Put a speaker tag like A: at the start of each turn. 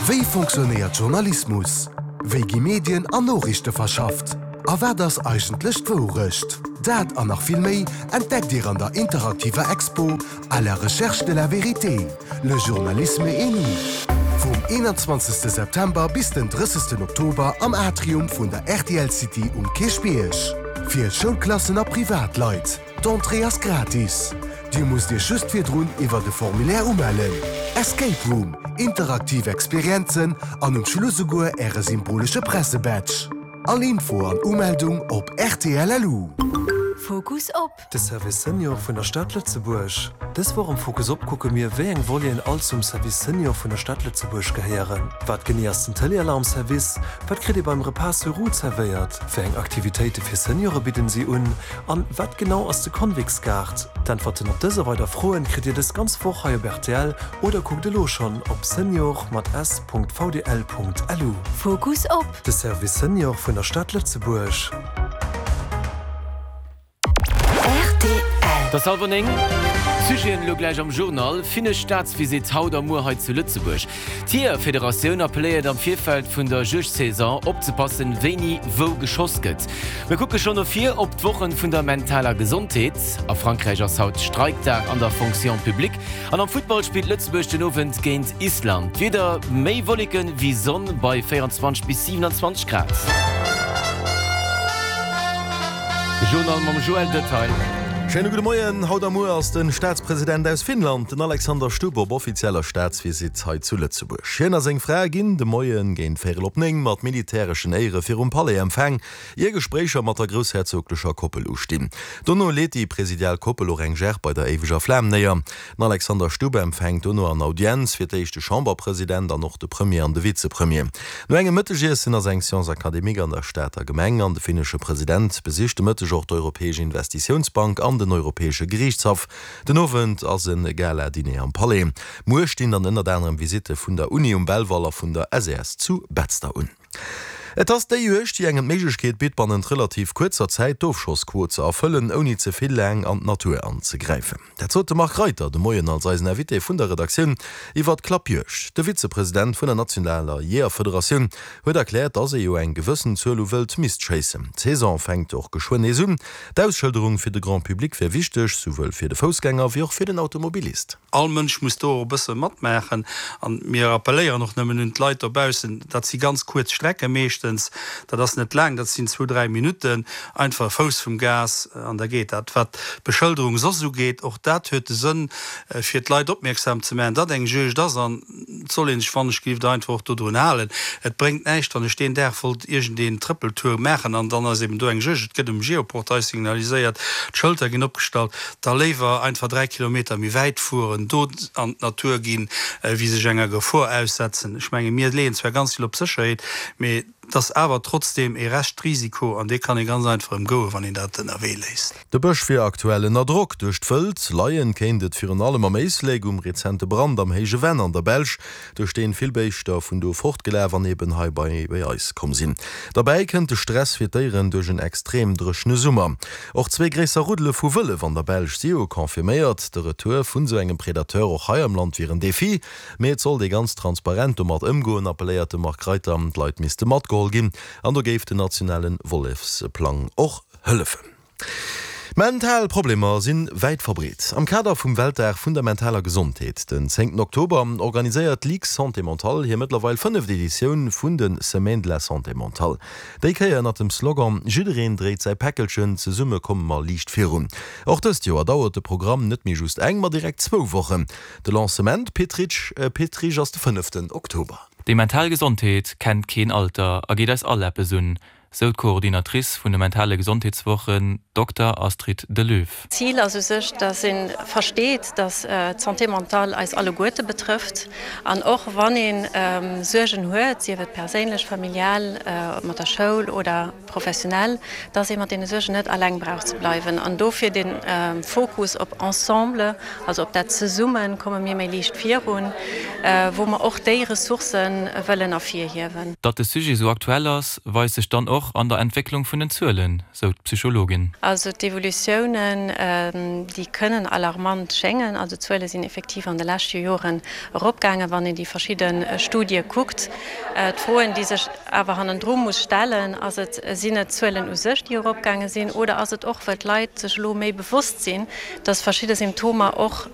A: Wéi fonctionnéiert Journalismus? Wéi gi Medien an Noriichte verschafft? A wat ass eigentlech d'Wourecht? Dat an nach vill méi entdeckt Dir an der interaktiver Expo À la recherche de la vérité, le journalisme et nous vum 21 September bis den 30 Oktober am Atrium vun der rtl City um Kierchbierg. Fir Schoulklassen a Privatleit. D'Entrée ass gratis. Dir musst Iech just virdrun iwwert e Formulaire umellen. Escape Room, interaktiv Experienzen an um Schluss esouguer Äre symbolesche Pressebadge. All Info an Umeldung op rtl.lu.
B: Fokus op.
C: De Service Senior vun der Stad Lëtzebuerg. Dës Woch am Fokus Op kucke mir, wéi eng Voleten all zum Service Senior vun der Stad Lëtzebuerg gehéieren. Wat genee ass den Téléalarm-Service? Wat kritt ee beim Repas sur roues zerwéiert? Wéi eng Aktivitéite fir Seniore bidden si un? An wat genau ass de Convicts-Gaart? D'Äntwerten op dës a weider Froen kritt Dir dës ganz Woch hei op rtl oder kuckt elo schonn op senior mat s.vdl.lu.
B: Fokus op.
C: De Service Senior vun der Stad Lëtzebuerg.
B: Rtl.
D: Et ass hallwer 9. Sujeten elo gläich am Journal, Finnesch Staatsvisitt haut a muer hei zu Lëtzebuerg. D'Jeeërfederatioun appelléiert am Virfeld vun der Juegdsaison opzepassen, wéini wou geschoss gëtt. Mir kucke schonn no vir op d'Wochen vun der mentaler Gesondheet. A Frankräich ass haut Streikdag an der Fonction publique. An am Futtball spillt Lëtzebuerg den Owend géint Island. D'Wieder, Méi Wolleken wéi Sonn bei 24 bis 27 Grad. De Journal mam Joël Detail.
E: Schéine gudde Moien. Haut a muer ass de Staatspresident aus Finnland, den Alexander Stubb, op offizieller Staatsvisitt hei zu Lëtzebuerg. Hien a seng Fra ginn de Moie géint véierel op 9 mat militäreschen Éiere virum Palais empfaang, ier Gespréicher mat der groussherzoglecher Koppel ustinn. Dono leet déi presidial Koppel och eng Gerb bei der éiweger Flam néier. Den Alexander Stubb empfänkt dono an Audienz fir d'éischt de Chamberpresident an och de Premier an de Vizepremier. No engem Mëttegiessen ass eng Séance académique an der Stater Gemeng an de finnesche President besicht de Mëtteg och d'Europäesch Investitiounsbank an den Europäesche Geriichtshaff. Den Owend ass e Gala-Diner am Palais. Muer stinn dann ënnert anerem Visitte vun der Uni um Belval a vun der SES zu Betzder un. Et ass déi Juegd, déi engem d'Méiglechkeet bitt, bannent relativ kuerzer Zäit d'Ofschossquot ze erfëllen, ouni ze vill laang an d'Natur anzegräifen. Dat sot de Marc Reiter de Moien als eisen Invité vun der Redaktioun iwwer d'Klappjuegd. De Vizepresident vun der nationaler Jeeërfederatioun huet erkläert, dass ee jo eng gewëssen Zuel u Wëld misst schéissen. D'Saison fänkt och geschwënn nees un. D'Ausschëlderung fir de Grand Public wär wichteg, souwuel fir de Foussgänger wéi och fir den Automobilist.
F: All Mënsch muss do och e bësse matmaachen. An mir appelléieren och nëmmen un d'Leit dobaussen, dat si ganz kuerz Strecke meeschtens, dat ass net laang, dat sinn zwou, dräi Minutten, einfach e Fouss vum Gas an da geet dat. Wat d'Beschëlderung soss ugeet, och dat huet de Sënn, fir d'Leit opmierksam ze maachen, datt eng Juegd ass. An et soll ee sech wannechgelift einfach och dodrun halen. Et bréngt näischt, wann ech deen Dag wollt iergendeen Trëppeltour maachen an dann ass eben do eng Juegd, et gëtt um Geoportail signaliséiert, d'Schëlter ginn opgestallt. Da léiwer einfach 3 Kilometer méi wäit fueren, do an d'Natur ginn, wéi sech enger Gefor aussetzen. Ech menge mir leeën zwar ganz vill op Sécherheet, mee et ass awer trotzdeem ee Reschtrisiko an dee kann ee ganz einfach ëmgoen, wann een dat ënnerwee léisst.
E: De Bësch wier aktuell ënner Drock duerch d'Wëld. Leien kéint et virun allem am Éislek um rezente Brand am Héije Venn an der Belsch, duerch deen vill Béischter vun do fortgelaf an eben hei bei eis komm sinn. Derbäi kënnt de Stress fir d'Déieren duerch en extrem dréchene Summer. Och zwee gréisser Ruddele vu Wëllef an der Belsch si jo confirméiert. De Retour vun esou engem Predateur och hei am Land wier en Defi, mee et sollt ee ganz transparent domat ëmgoen, appelléiert de Marc Reiter. D'Leit misste matgeholl ginn an do géif den nationale Wollefsplang och hëllefen. Mental Problemer si wäit verbreet. Am Kader vum Weltdag vun der mentaler Gesondheet, den zéngten Oktober, organiséiert d'Ligue Santé Mentale hir mëttlerweil fënneft Editioun vun de Semaines de la Santé Mentale. Déi Kéier ënnert dem Slogan Jiddereen dréit säi Päckelchen, zesumme komme mer liicht virun. Och dëst Joer dauert de Programm net méi just eng, ma direkt zwou Wochen. De Lancement Pit Rich ass de fënneften Oktober.
G: Déi mental Gesondheet kennt keen Alter a geet eis all eppes un, Sou d'Coordinatrice vun de mentale Gesondheetswochen, Dokter Astrid Delöw.
H: D'Zil ass u sech, dass ee versteet, dass d'Santé mentale eis alleguerte betrëfft. An och wann ee Suergen huet, sief et perséinlech, familial, mat der Schoul oder professionell, dass ee mat deene Suergen net alleng brauch ze bleiwen. An dofir de Fokus op ensemble, also op dat Zesummen komme mir méi liicht virun, wou mer och déi Ressourcë wëllen ervirhiewen.
G: Datt de Sujet sou aktuell ass, weist sech dann och. och an der Entwécklung vun den Zuelen, sou d'Psychologin.
H: Also d'Evolutiounen, déi kënnen alarmant schéngen. Also d'Zuele sinn effektiv an de leschte Joren eropgaangen, wann een déi verschidde Studie kuckt. D'Froen, déi sech awer hannendru muss stellen, ass et, sinn et d'Zuelen u sech, déi eropgaange sinn, oder ass et och, well d'Leit sech elo méi bewosst sinn, dass verschidde Symptomer och.